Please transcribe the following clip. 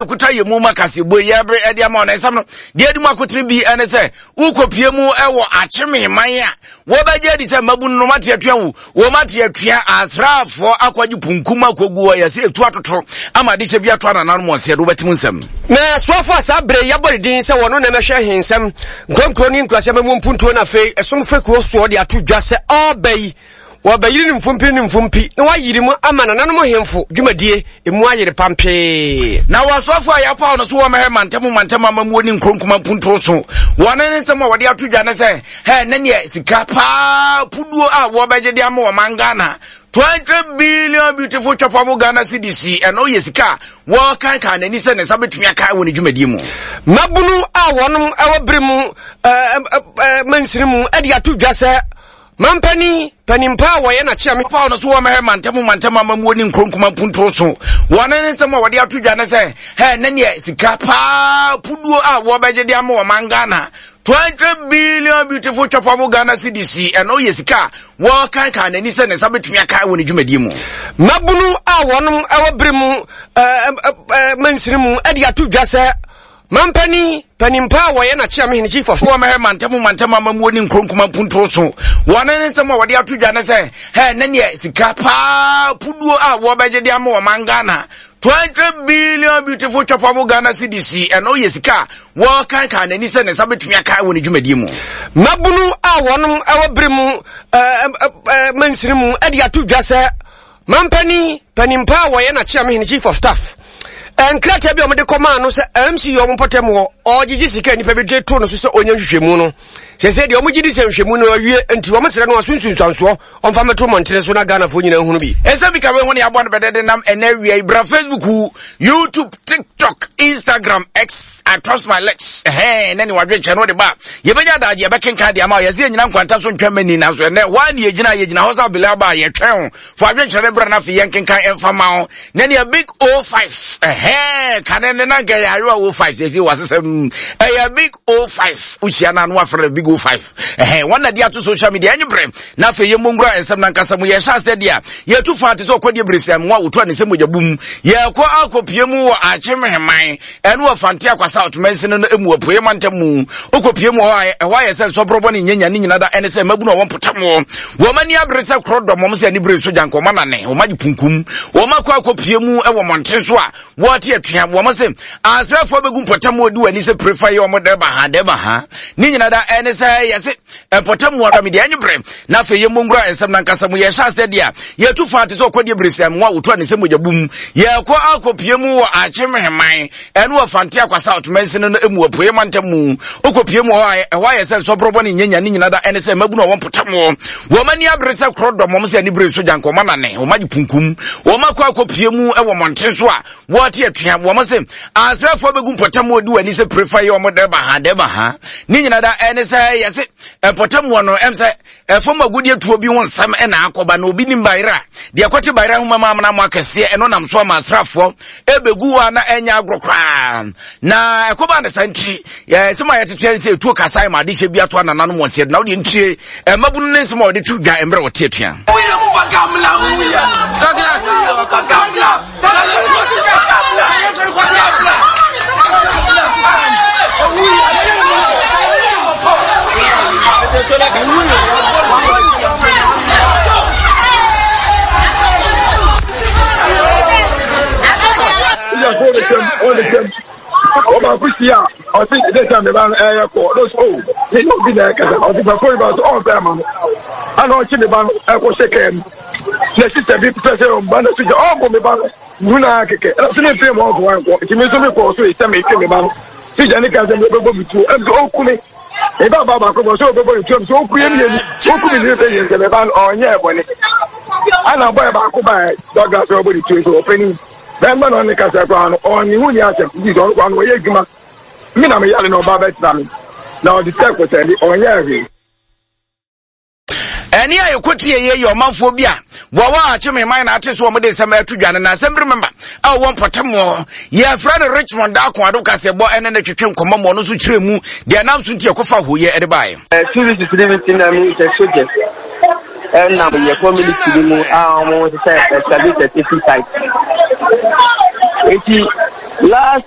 Kuta yɛ mu ma kaseɛbɔ yi ɛbere ɛde ama ɔna nsɛm no deɛ adi mu akotene bi ɛne sɛ wokɔpie mu ɛwɔ akyeme man a wɔbɛgye adi sɛ mmabu no mate atua wo wɔn ate atua asraafoɔ akɔgye punkum akɔgu hɔ yɛsɛ ɛtu atoto ama adehyɛ bi ato anananom wɔn seɛ do wobɛtem nsɛm. Na soafoɔ a saa berɛ yi yɛabɔ ne din sɛ wɔno na ɛmɛhwɛ ahensɛm nkuronkuro ne nkuraseɛ ma mu mpuntuo no afei ɛsom fekuo soɔ de ato dwa sɛ ɔreba yi Wɔbɛyere no mfompi ne mfompi, na wɔayere mu ama nananom hemfo dwumadie emu ayere pampee. Na wɔasoafo a yɛapaw no so wɔmmɛhwɛ mantam mantam amammuo ne nkuro nkuma mpuntuo so. Wɔn ne nsɛm a wɔde ato dwa ne sɛ, hɛ ne neɛ sika paa puduo a wɔbɛgye de ama ɔman Ghana 20 billion beautiful chopable Ghana cedis yi, ɛno yɛ sika a wɔkankan n'ani sɛ ne nsa bɛtumi aka wɔ ne dwumadie mu. Mmabunu a wɔnom wɔ bere mu mansini mu de ato dwa sɛ Mampanin, panin pa a wɔyɛ n'akyeame. Paw no so wɔ mɛhwɛ mantam mantam amammuo ne nkuro nkuma mpuntuo so. Wɔn ne nsɛm a wɔde ato dwa ne sɛ, hɛ ne neɛ sika paa puduo a wɔbɛgye de ama ɔman Ghana 20 billion beautiful chopable Ghana cedis yi, ɛno yɛ sika a wɔkankan n'ani sɛ ne nsa bɛtumi aka wɔ ne dwumadie mu. Mmabunu a wɔnom wɔ bere mu mansini mu de ato dwa sɛ Mampanin, panin pa a wɔyɛ n'akyeamehene, chief of. Wɔ mɛhwɛ mantam mantam amammuo ne nkuro nkuma mpuntuo so. Wɔn ne nsɛm a wɔde ato dwa ne sɛ, hɛ ne neɛ sika paa puduo a wɔbɛgye de ama ɔman Ghana 20 billion beautiful chopable Ghana cedis yi, ɛno yɛ sika a wɔkankan n'ani sɛ ne nsa bɛtumi aka wɔ ne dwumadie mu. Mmabunu a wɔnom wɔ bere mu mansini mu de ato dwa sɛ Mampanin, panin pa a wɔyɛ n'akyeamehene, chief of staff, nkrataa bi a wɔde kɔmaa no sɛ MC yɛ wɔn mpɔtam hɔ, ɔregyegye sika a nnipa bi de to no so sɛ ɔnyɛ nhwehwɛmu no. Sɛsɛ deɛ wɔgye di sɛ nhwehwɛmu no awie nti wɔn srɛ no aso nsunsuansoɔ ɔmfa mmɛto mmɔntene so na Ghanafoɔ nyinaa nhunu bi. Ɛsɛ bi ka wei ho ne abɔ no bɛdɛ de nam ɛnɛ awia yi bra Facebook, YouTube, TikTok, Instagram, X, I trust my legs. Ɛhɛn, ne ne wadwenkyɛ no de ba. Yɛbɛnya adagye yɛbɛkenkan de ama wo. Yɛsɛ yɛnyina nkwanta so ntwɛn mani nanso ɛnɛ hɔ a ne yɛgyina yɛgyina hɔ sɛ abele aba a yɛtwɛn ho. Fa adwenkyerɛ no bra na afei yɛnkenkan ɛmfa ma wo. Na nea big O5 ɛhɛn kane ne na nka ɛyɛ ayewa O5 sɛ ɛfie wasesɛm ɛyɛ big O5 wohyia no ano afrɛ no big O5 ɛhɛn wɔn na de ato social media ɛnye brɛ na afei yɛmmɔ nwura nsɛm no ankasa mu yɛhyɛ aseɛ deɛ a yɛtu fa te sɛ ɔkɔdeɛ beresɛm ho a wɔtu a ne sɛ mogya bum yɛkɔ akɔpie mu wɔ akyemheman ɛne wɔ fante akwa south mansini no mu apueɛ mantam mu wokɔpie mu hɔ a ɛhɔ ayɛ sɛ nsɔborɔbɔ ne nyanya ne nyina da ɛne sɛ mmabunu a wɔmpotam wɔ wɔn ani abere sɛ korɔ dɔm wɔn sɛ ani bere so gyanka wɔn anane wɔn agye kunkum wɔn akɔ akɔpie mu wɔ mmɔnten so a wɔte atua wɔn se asrɛfoɔ bɛgu mpɔtam wɔ di wɔn ani sɛ prefa yɛ wɔn dɛba ha dɛba ha ne nyina da ɛne sɛ yɛse mpɔtam wɔ dɔm deɛ ɛnye bere na afei yɛmmɔ nwura nsɛm no ankasa mu yɛhyɛ aseɛ deɛ a yɛtu fa te sɛ ɔkɔdeɛ beresɛm ho a wɔtu a ne sɛ mogya bum yɛkɔ akɔpie mu wɔ akyemheman ɛne wɔ fante akwa south mansini no mu apueɛ mantam mu wokɔpie mu hɔ a ɛhɔ ayɛ sɛ nsɔborɔbɔ ne nyanya ne nyina da ɛne sɛ mmabunu a wɔmpotam wɔ wɔn ani abere sɛ korɔ dɔm wɔn sɛ ani bere so gyanka wɔn anane wɔn agye kunkum wɔn akɔ akɔpie mu wɔ mmɔnten so a wɔte atua wɔn se asrɛfoɔ bɛgu mpɔtam wɔ di wɔn ani sɛ prefa yɛ wɔn dɛba ha dɛba ha ne nyina da ɛne sɛ yɛse mpɔtam wɔ no ɛm sɛ ɛfam agudeɛ tuo bi ho nsɛm ɛna akɔba na obi nim bayera deɛ ɛkɔte bayera ho mama amena mo akɛseɛ ɛno nam so ama asraafoɔ ɛbɛgu hɔ a na ɛnyɛ agorɔ koraa na ɛkɔba ne sa nti sɛm a yɛtete ɛne sɛ ɛtuo kasae ma adehyɛ bi ato anananom wɔn seɛ na wodeɛ ntie mmabunu ne nsɛm a wɔde to dwa mmerɛ wɔte atua. Ɔbaako si a ɔsi ɛdɛ sɛ meba no ɛyɛ kɔ ɔno so o ne ne obi na ɛkasa ɔsi fɛ fɔri ba so ɔnfɛ ama no ana ɔkye ne ba no ɛkɔ hyɛ kɛɛ mu na sista bi pɛ sɛ ɔmba na so gya ɔbɔ me ba no hu na kɛkɛ ɛna so ne mfe mu ɔnkɔ wankɔ nti me nso me kɔɔ so sɛ metwe me ba no sista ne ka sɛ mebɛbɔ me tuo ɛm sɛ ɔku me me ba ba baako bɔ sɛ ɔbɛbɔ ne tuo ɛm sɛ ɔku yɛ mmienu ɔku me ne bɛyɛ sɛ me ba no ɔnyɛ ɛbɔne ana bɔyɛ baako ba dɔga sɛ ɔbɔ ne tuo sɛ ɔpɛni bɛrima na ɔne kasa koraa no ɔne ho ni asɛm nti sɛ ɔno koraa no ɔyɛ adwuma me na meyare na ɔba bɛtena me na ɔde sɛ kɔsɛde ɔnyɛ hwee. Ɛne a yɛkɔtie yɛ yɛ ɔmanfoɔ bi a wɔwɔ akyeme man na ate so wɔn de nsɛm ɛto dwa no na assembly member a wɔwɔ mpɔtam hɔ yɛfrɛ no Richmond Daako Ado kasɛbɔ ɛne ne twetwe nkɔmmɔ ma ɔno nso kyerɛ mu deɛ ɛnam so nti ɛkɔfa hoyɛ ɛde baeɛ. Services no bi ti na mi sɛ soldiers ɛnam yɛ community bi mu a wɔn sɛ excavator safety site. Eti last.